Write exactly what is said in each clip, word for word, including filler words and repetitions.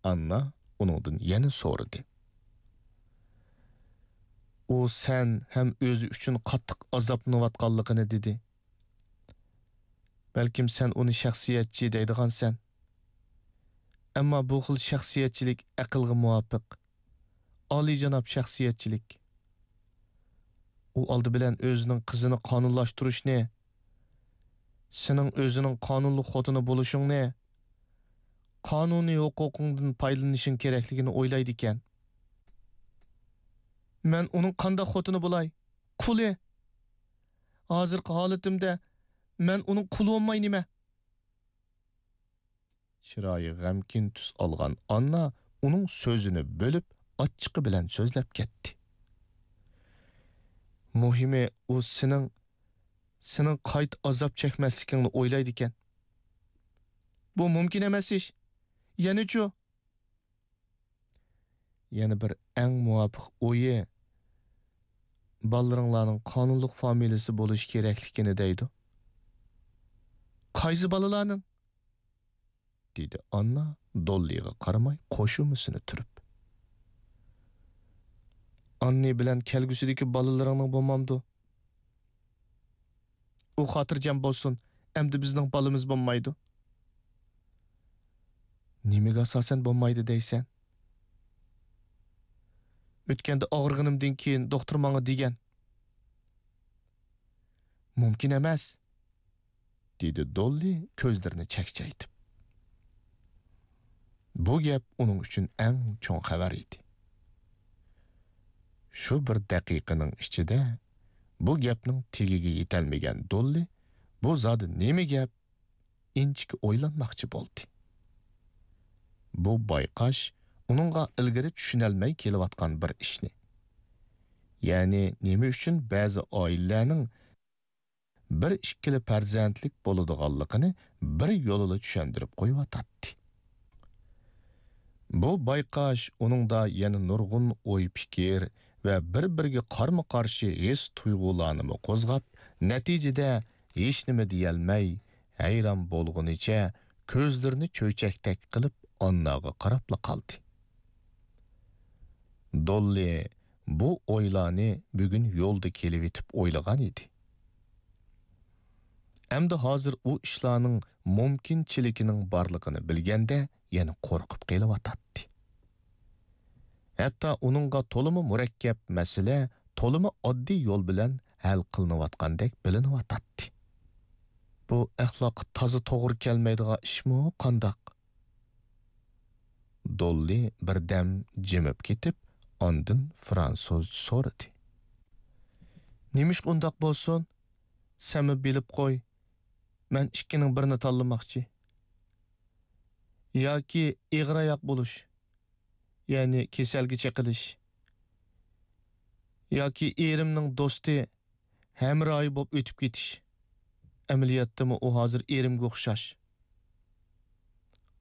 ئاننا ئۇنىڭدىن يەنە سورىدى. ئۇ سەن ھەم ئۆزى ئۈچۈن قاتتىق ئازابلىنىۋاتقانلىقىنى دېدى. بەلكىم سەن ئۇنى شەخسىيەتچى دەيدىغانسەن. ئەمما بۇ خىل شەخسىيەتچىلىك ئەقىلگە مۇۋاپىق، ئالىيجاناب شەخسىيەتچىلىك. ئۇ ئالدى بىلەن ئۆزىنىڭ قىزىنى قانۇنلاشتۇرۇشنى، سېنىڭ ئۆزىنىڭ قانۇنلۇق خوتۇنى بولۇشۇڭنى، قانۇنىي ھوقۇقۇڭدىن پايدىلىنىشىڭ كېرەكلىكىنى ئويلايدىكەن. مەن ئۇنىڭ قانداق خوتۇنى بولاي؟ قۇلى! ھازىرقى ھالىتىمدە مەن ئۇنىڭ قۇلى بولماي نېمە؟ چىرايى غەمكىن تۈس ئالغان ئاننا ئۇنىڭ سۆزىنى بۆلۈپ، ئاچچىقى بىلەن سۆزلەپ كەتتى. مۇھىمى، ئۇ سېنىڭ، سېنىڭ قايتا ئازاب چەكمەسلىكىڭنى ئويلايدىكەن. بۇ مۇمكىن ئەمەس ئىش. يەنىچۇ؟ يەنە بىر ئەڭ مۇۋاپىق ئويى، بالىلىرىڭلارنىڭ قانۇنلۇق فامىلىسى بولۇشى كېرەكلىكىنى دەيدۇ. قايسى بالىلارنىڭ؟ دېدى ئاننا دوللىغا قارىماي قوشۇمىسىنى تۈرۈپ. ئاننى بىلەن كەلگۈسىدىكى بالىلىرىڭنىڭ بولمامدۇ؟ ئۇ خاتىرجەم بولسۇن، ئەمدى بىزنىڭ بالىمىز بولمايدۇ. نېمىگە ئاساسەن بولمايدۇ دەيسەن؟ ئۆتكەندە ئاغرىغىنىمدىن كېيىن دوختۇر ماڭا دېگەن. مۇمكىن ئەمەس، دېدى دوللى كۆزلىرىنى چەكچەيتىپ. بۇ گەپ ئۇنىڭ ئۈچۈن ئەڭ چوڭ خەۋەر ئىدى. شۇ بىر دەقىقىنىڭ ئىچىدە بۇ گەپنىڭ تېگىگە يېتەلمىگەن دوللى بۇ زادى نېمە گەپ؟ ئىنچىكە ئويلانماقچى بولدى. بۇ بايقاش ئۇنىڭغا ئىلگىرى چۈشىنەلمەي كېلىۋاتقان بىر ئىشنى، يەنى نېمە ئۈچۈن بەزى ئائىلىلەرنىڭ بىر ئىككىلا پەرزەنتلىك بولىدىغانلىقىنى بىر يولىلا چۈشەندۈرۈپ قويۇۋاتاتتى. بۇ بايقاش ئۇنىڭدا يەنە نۇرغۇن ئوي-پىكىر ۋە بىر-بىرىگە قارىمۇ-قارشى ھېس-تۇيغۇلارنىمۇ قوزغاپ، نەتىجىدە ھېچنېمە دېيەلمەي، ھەيران بولغىنىچە كۆزلىرىنى چۆچەكتەك قىلىپ ئانناغا قاراپلا قالدى. دوللى بۇ ئويلارنى بۈگۈن يولدا كېلىۋېتىپ ئويلىغان ئىدى. ئەمدى ھازىر ئۇ ئىشلارنىڭ مۇمكىنچىلىكىنىڭ بارلىقىنى بىلگەندە يەنە قورقۇپ قېلىۋاتاتتى. ھەتتا ئۇنىڭغا تولىمۇ مۇرەككەپ مەسىلە، تولىمۇ ئاددىي يول بىلەن ھەل قىلىنىۋاتقاندەك بىلىنىۋاتاتتى. بۇ ئەخلاققا تازا توغرا كەلمەيدىغان ئىشمۇ قانداق؟ دوللى بىردەم جىمىپ كېتىپ، ئاندىن فرانسۇزچە سورىدى. نېمىشقا ئۇنداق بولسۇن؟ سەنمۇ بىلىپ قوي، مەن ئىككىنىڭ بىرىنى تاللىماقچى. ياكى ئېغىر ئاياق بولۇش، يەنى كېسەلگە چېقىلىش، ياكى ئېرىمنىڭ دوستى، ھەمراھى بولۇپ ئۆتۈپ كېتىش. ئەمەلىيەتتىمۇ ئۇ ھازىر ئېرىمگە ئوخشاش.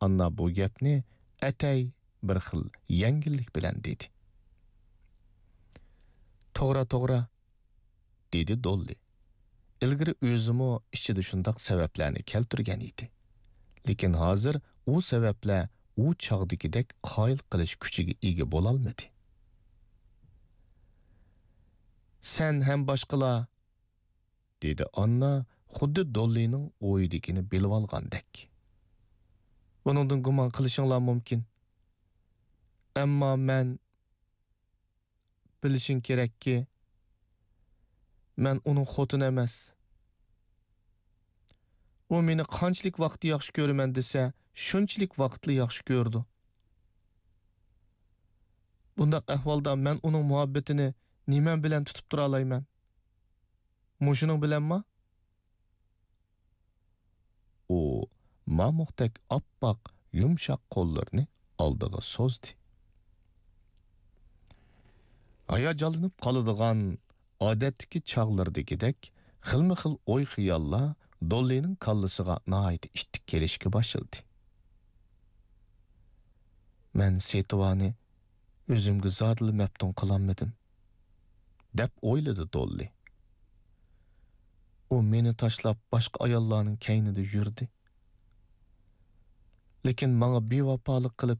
ئاننا بۇ گەپنى ئەتەي بىر خىل يەڭگىللىك بىلەن دېدى. توغرا، توغرا، دېدى دوللى. ئىلگىرى ئۆزىمۇ ئىچىدە شۇنداق سەۋەبلەرنى كەلتۈرگەن ئىدى. لېكىن ھازىر ئۇ سەۋەبلەر ئۇ چاغدىكىدەك قايىل قىلىش كۈچىگە ئىگە بولالمىدى. سەن ھەم باشقىلار، دېدى ئاننا خۇددى دوللىنىڭ ئويىدىكىنى بىلىۋالغاندەك. بۇنىڭدىن گۇمان قىلىشىڭلار مۇمكىن. ئەمما مەن، بىلىشىڭ كېرەككى، مەن ئۇنىڭ خوتۇنى ئەمەس. ئۇ مېنى قانچىلىك ۋاقىتتا ياخشى كۆرىمەن دېسە، شۇنچىلىك ۋاقىتلا ياخشى كۆرىدۇ. بۇنداق ئەھۋالدا مەن ئۇنىڭ مۇھەببىتىنى نېمەم بىلەن تۇتۇپ تۇرالايمەن؟ مۇشۇنىڭ بىلەنما؟ ئۇ مامۇقتەك ئاپئاق، يۇمشاق قوللىرىنى ئالدىغا سوزدى. ھاياجانلىنىپ قالىدىغان ئادەتتىكى چاغلىرىدىكىدەك خىلمۇ خىل ئوي-خىياللار دوللىنىڭ كاللىسىغا ناھايىتى ئىتتىك كېلىشكە باشلىدى. مەن سېتىۋانى ئۆزۈمگە زادىلا مەپتۇن قىلالمىدىم، دەپ ئويلىدى دوللى. ئۇ مېنى تاشلاپ باشقا ئاياللارنىڭ كەينىدە يۈردى. لېكىن ماڭا بىۋاپالىق قىلىپ،